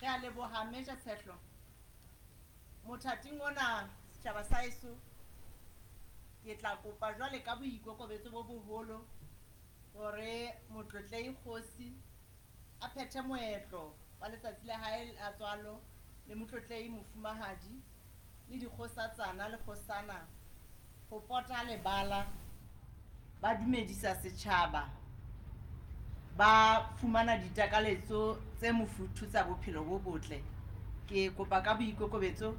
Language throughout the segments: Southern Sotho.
Re a leboha Major Tshehlo. Mothating ona setjhaba sa heso, ke tla kopa jwale ka boikokobetso bo boholo hore Motlotlehi Kgosi a phethe moetlo wa letsatsi la hae la tswalo le Motlotlehi Mofumahadi le dikgosatsana le kgosana ho pota lebala, ba dumedisa setjhaba, ba fumana ditakaletso tse mofuthu tsa bophelo bo botle. Ke kopa ka boikokobetso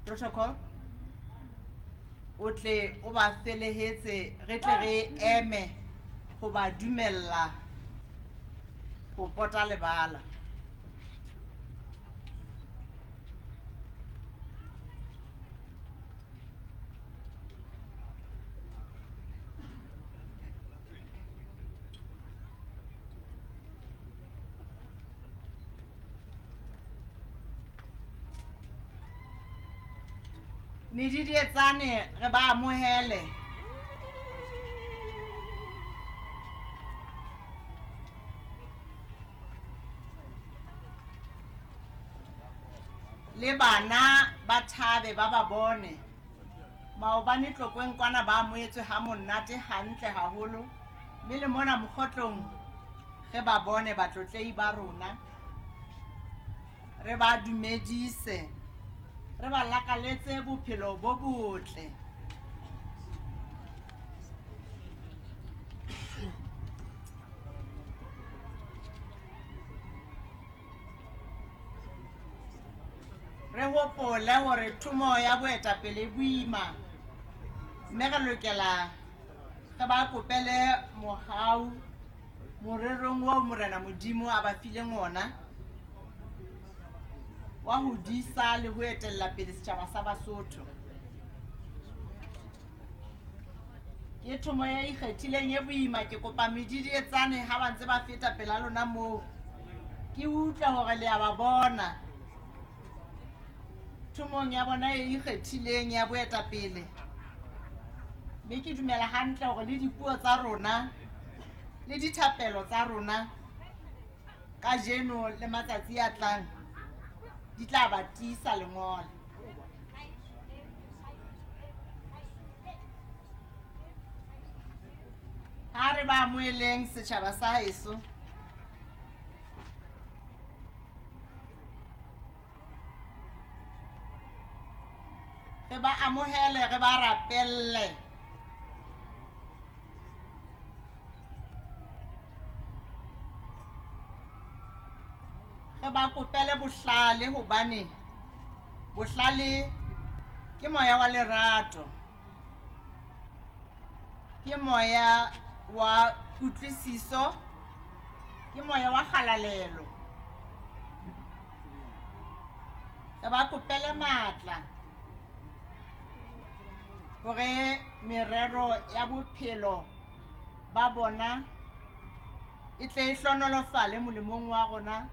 protocol o tle o ba felehetse, re tle re eme ho ba dumella ho pota lebala. Medidietsane re ba amohele. Le bana ba thabe ba ba bone. Maobane Tlokweng kwana ba amohetswe ha monate hantle haholo, mme le mona mokgotlong re ba bone batlotlehi ba rona, re ba dumedise, re ba lakaletse bophelo bo botle. Re hopole hore thomo ya boetapele e boima, mme re lokela re ba kopele mohau morerong oo Morena Modimo a ba fileng ona wa ho disa le ho etella pele setjhaba sa Basotho. Ke thomo e ikgethileng e boima. Ke kopa medidietsane ha ba ntse ba feta pela lona moo, ke utlwe hore le a ba bona thomong ya bona e ikgethileng ya boetapele. Mme ke dumela hantle hore le dipuo tsa rona le dithapelo tsa rona kajeno le matsatsi a tlang di tla ba tiisa lengolo. Ha re ba amoheleng setjhaba sa heso. Re ba amohele, re ba rapelle. Re ba kopele bohlale, hobane bohlale ke moya wa lerato, ke moya wa kutlwisiso, ke moya wa kgalalelo. Re ba kopele matla hore merero ya bophelo ba bona e tle e hlonolofale molemong wa rona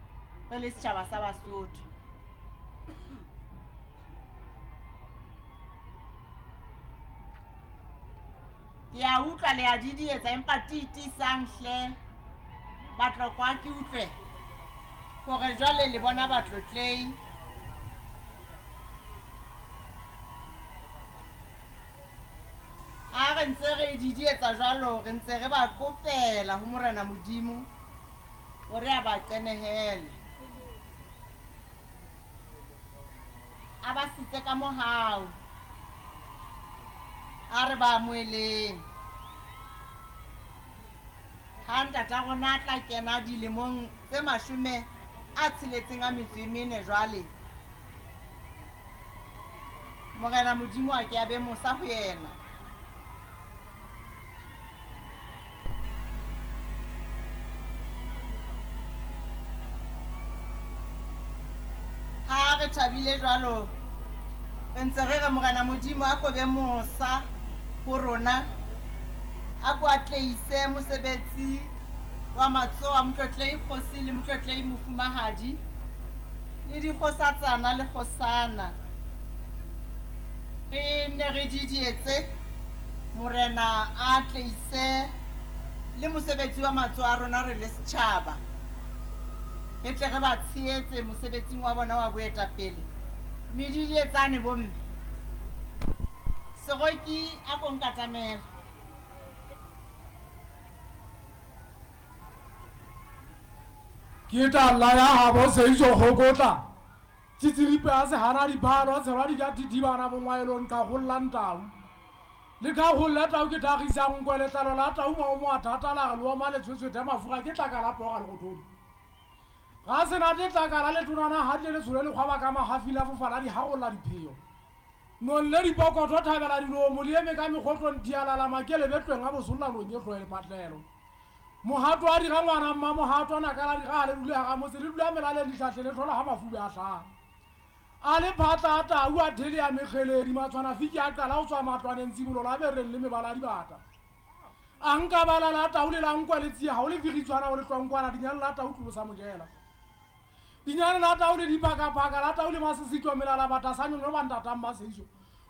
re le setjhaba sa Basotho. Ke a utlwa le a didietsa, empa tiitisang hle Batlokwa, ke utlwe hore jwale le bona batlotlehi. Ha re ntse re didietsa jwalo, re ntse re ba kopela ho Morena Modimo hore a ba qenehele, a ba sitse ka mohau. A re ba amoheleng. Ha ntata rona a tla kena dilemong tse 64 jwale, Morena Modimo a ke a be mosa ho yena. Ha re thabile jwalo, re ntse re re Morena Modimo a ko be mosa ho rona, a ko atleise mosebetsi wa matsoho a Motlotlehi Kgosi le Motlotlehi Mofumahadi le dikgosatsana le kgosana. Re ne re didietse Morena a atleise le mosebetsi wa matsoho a rona re le setjhaba. Re tle re ba tshehetse mosebetsing wa bona wa boetapele. Medidietsane bomme. Seroki a ko nkatamela. Ke tla ya gabo Seiso Kgokotla, Tsitsiripe a sehana diphalo, a tshelwa dika thithibana bongwaelong qhakgollang tau. Le qhakgolle tau ke thagisang nkwe, letlalo la tau maomo a thata la re leoma le tshwetshwethe mafura ke tlaka la pooga le gothodi. Ga se nate tlaka la letonana ga tle le tshole lekgwaba ka magafi la fofa la di hagolla dipheo. Nong le dipokotho thabela dilomo le eme ka mekgotlong thialala makele betlweng a bosolla nong e hloe lepatlelo. Mohato a dira ngwana mmamohato a naka la dira le dule ga motse le dula melaleng dihlahle le hlola ga mafube a hlaha. A le phatla a tau a thele ya mekgeledi matshwana fiki a qala go tswa matlwaneng tsibolo la bereng le mebala a dibata. A nka bala la tau le la nkwa le tsia ga o le figitswana o le tlwankwana dinyane la tau tlolo sa mojela. Dinyane la tau le diphakaphaka la tau le masesitwa melala bata sa nyonyo ba ntatang maseiso.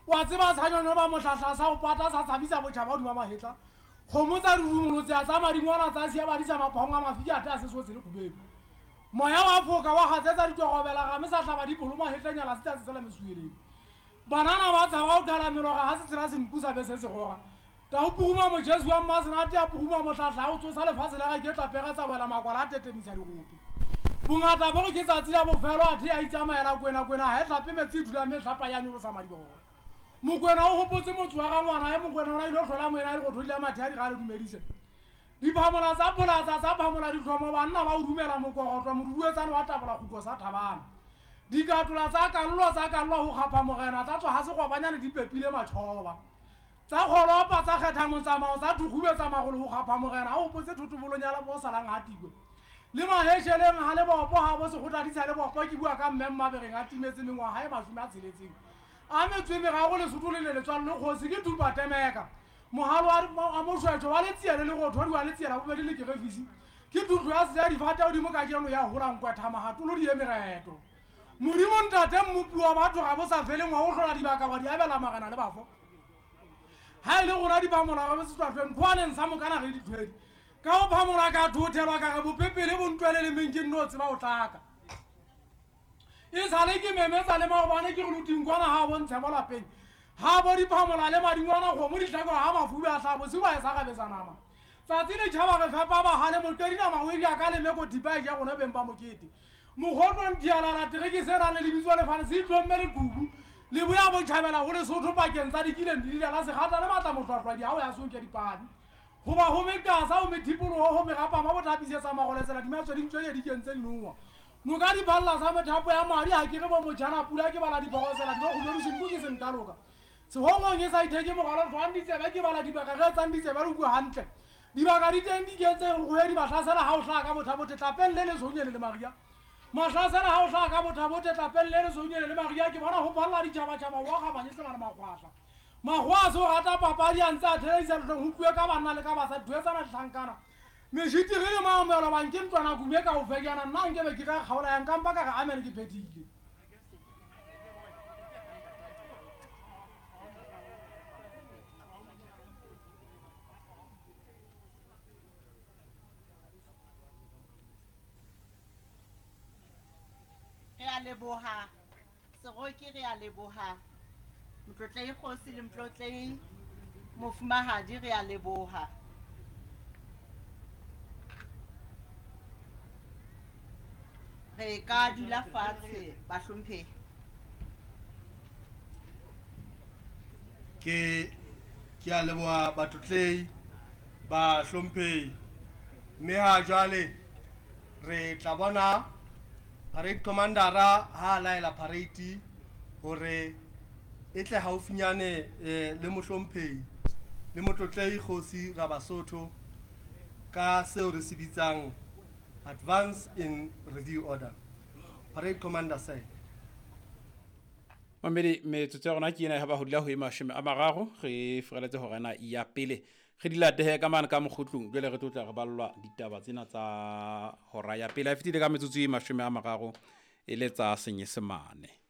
Wa tseba sa nyonyo ba mohlahla sa go pata sa tshabisa botšhaba godima mahetla. Kgomo tsa rurumolotse tsa madingwana tsa sia badisa maphong a mafiki a te a sesotse le khubedu. Moya wa foka wa gatsetsa ditogobela game sa hlaba dipolo mahetlenyala se tla sesela mesueleng. Banana ba tshaba go qhala meloga ga se tshela senku sa be se se goga. Tau puguma mojesu wa mmasenate a puguma mohlahla a go tsosa lefatshe la ga ke tla pega tsa wela makwala a tetemisa digope. Bongata bo ke tsatsi la bofelo athe a itsamaela kwena kwena ha e hlape metsi e dula mme hlapa ya nyolosa madibogo. Mokwena o gopotse motse wa ga ngwana e Mokwena o na ile hlola moena le go thodila mathe a di ga le dumedise. Diphamola tsa pholatsa tsa phamola ditlhomo banna ba o dumela mokogotlo moduduetsane wa tabola kgutlo sa thabana. Dikatola tsa kallwa tsa kallwa go kgapha morena tsa tswa ga segwabanyane di pepile matšhoba. Tsa kgolopa tsa kgetha motsamao tsa thukgubetsa magolo go kgapha morena a gopotse thotobolonya bo salang ga tikwe. Le mahesheleng ga le bopo ga bo segotla di sa le bopo ke bua ka mme mmabereng a timetse mengwaga e 60. A metswe megago Lesotho le le letswalo le kgosi ke thupa temeka. Mogalo wa mošwetšo wa letsia le lerothodi wa letsia la bobedi le kerefisi ke thutlo ya seja difate godimo ka jeno ya gola nkwetha magatolo di emereto. Modimo ntate mmopi wa batho ga bo sa feleng wa go hlola dibaka wa di abela magana le bafo. Ha e le gona di phamola ga bo setswatlweng kgoaneng sa mokana ge dithwedi. Ka go phamola ka thothelwa ka re bopepele bo ntwele le meng ke nno tseba go tlaka. E sale ke memetsa le maobane ke re lotingkwana ga bontshe mo lapeng. Ga bo diphamola le madingwana kgomo ditlhako ga mafube a hlabo se ba e sa gabetsa nama. Tsatsi le tšhaba re fepa bagale motwedi nama o eria ka lemeko thipa e ja gone beng ba mokete. Mogotong dialala tere ke se rane lebitso lefane se itlomme le kubu. Le boya botšhabela go Lesotho pakeng tsa dikileng di la segata le matla mohlwahlwadi ga o ya sonke dipadi. Goba go mekasa go methipologo go megapama bo thapisetsa magoletsela dimatswe di ntswe di kentse dinoa. Noka di balla sa methapo ya madi ha ke re bo motjhana pula ke bala dibogosela di go go ke sentaloka. Sehongong e sa itheke mogala tswang ditsebe ke bala dibaka ge tsang ditsebe re bua hantle. Dibaka di teng di kentse go he di mahlasela ha o hlaha ka botha bothe tlapeng le lesonyele le Maria. Mahlasela ha o hlaha ka botha bothe tlapeng le lesonyele le Maria ke bona ho balla ditjhaba-tjhaba wa ga banyesela le magwahla. Magwa so rata papadi a ntse a theleisa lehlong ho tluwe ka banna le ka basadi thuetsana dihlankana. Mešiti re le maomelo bang ke ntlwana kume ka o fekana nna nke be ke ka kgaola yang kampa ka re amen ke phethile. Re a leboha Seroki, re a leboha Motlotlei kgosi le motlotlei mofumahadi, re a leboha. Re ka dula fatshe bahlomphehi. Ke a leboha batlotlei bahlomphehi. Mme ha jwale re tla bona parade commandera ha laela parade hore e tle haufinyane le mohlomphehi le motlotlei kgosi Rabasotho ka seo re se bitsang advance in review order. Parade commander sir. Mamedi metsotso ya rona ke ena ha ba hodila ho e 30 re furaletse hore na ya pele re di latehe ka mane ka mokgutlung jwale re tlo tla re ballwa ditaba tsena tsa hora ya pele a fetile ka metsotso e 30 e le tsa Senyesemane.